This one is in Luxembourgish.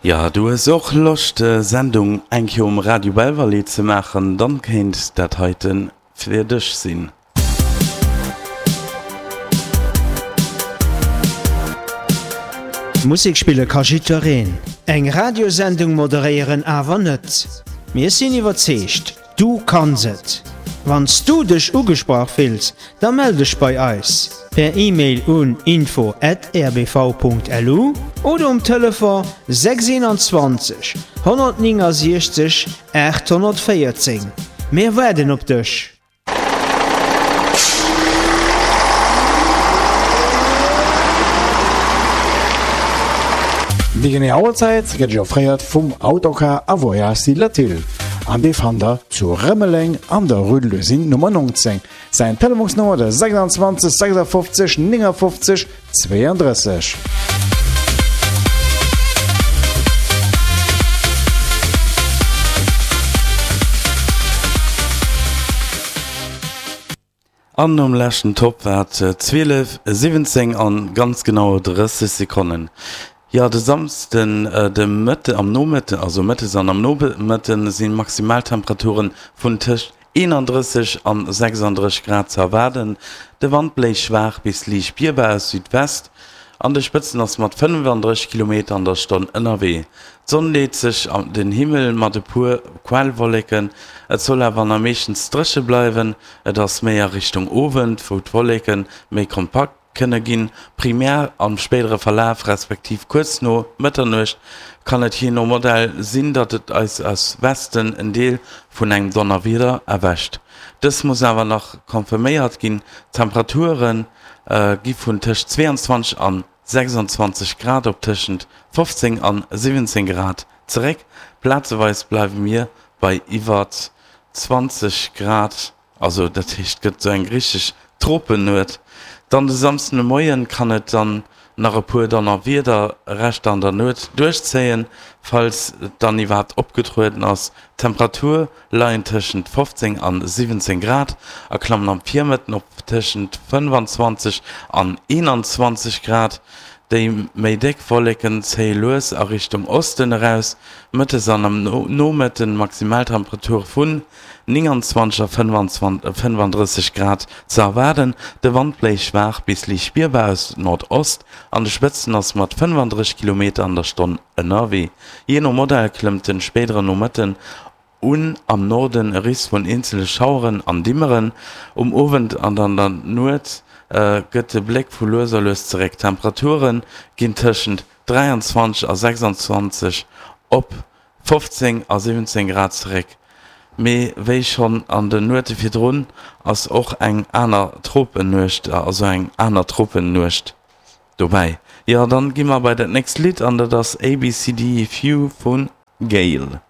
Jo, du hues och Loscht Sendung eng Kéier um Radio Belval ze maachen, dann kéint dat heiten fir dech sinn. Musek spille ka jiddwereen, eng Radiosendung moderéieren awer net. Mir sinn iwwerzeegt, du kanns et! Wann s du dech ugesprach fills, da mell dech bei eis per E-Mail un info at rbv.lu oder um Telefon 621 169 814. Mir waarden op dech! Déi genee Auerzäit gëtt Iech offréiert vum Autocar a Voyages Latil an dee fannt der zu Rëmeleng an der Rue de l'Usine Nummer 19. Säin Telefonsnummer de 26 56 59 32. An nom leschten Topp war et 12, 17 an ganz genau 30 Sekonnen. Jo, de Samsden de Mëtte am Nomëtten, also mëttes an am Nomëtten, si Maximaltemperaturen vun tëscht 31 an 36 Grad ze erwaarden. De Wand bléist schwaach bis liicht spierbar aus Südwest. An de Spëtzen ass mat 35 Kilometer an der Stonn ënnerwee. D'Sonn leet sech den Himmel mat e puer Quellwolleken, et soll awer nach meeschtens dréche bleiwen. Et ass méi a Richtung Owend, wou d'Wolleke méi kompakt kënne ginn. Primär am spéidere Verlaf, respektiv kuerz no Mëtternuecht, kann et jee no Modell sinn, datt et eis aus Westen en Deel vun engem Donnerwieder erwächt. Dëst muss awer nach confirméiert ginn. D'Temperature gi vun tëscht 22 an 26 Grad op tëschent 15 an 17 Grad zeréck. Plazeweis bleiwe mir bei iwwer 20 Grad, also dat heescht et gëtt esou eng richteg Tropennuet. Dann de Samsden de Moien kann et dann nach e puer Donnerwiederreschter an der Nuet duerchzéien, falls et dann iwwerhaapt opgetrueden ass. D'Temperature leien tëschent 15 an 17 Grad a klammen am Virmëtten op tëschent 25 an 21 Grad. Déi méi déck Wolleken zéie lues a Richtung Osten eraus. Mëttes an am Nomëtten Maximaltemperature vun 29 a 35 Grad ze erwaarden. De Wand bléist schwaach bis liicht spierbar aus Nordost, an de Spëtzen ass mat 35 Kilometer an der Stonn ënnerwee. Jee no Modell klëmmt den spéidere Nomëtten un am Norden e Risk vun eenzele Schaueren an Dimmeren. Um Owend an an der Nuet gëtt de Bléck vu lues a lues zeréck. D'Temperature ginn tëschent 23 a 26 op 15 a 17 Grad zeréck. Mee wéi schonn an de Nuete virdrun ass och eng aner Tropennuecht, also eng aner Tropennuecht dobäi. Jo, dann gi mer bei dat nächst Lidd an dat ass ABCDEFU vu Gail.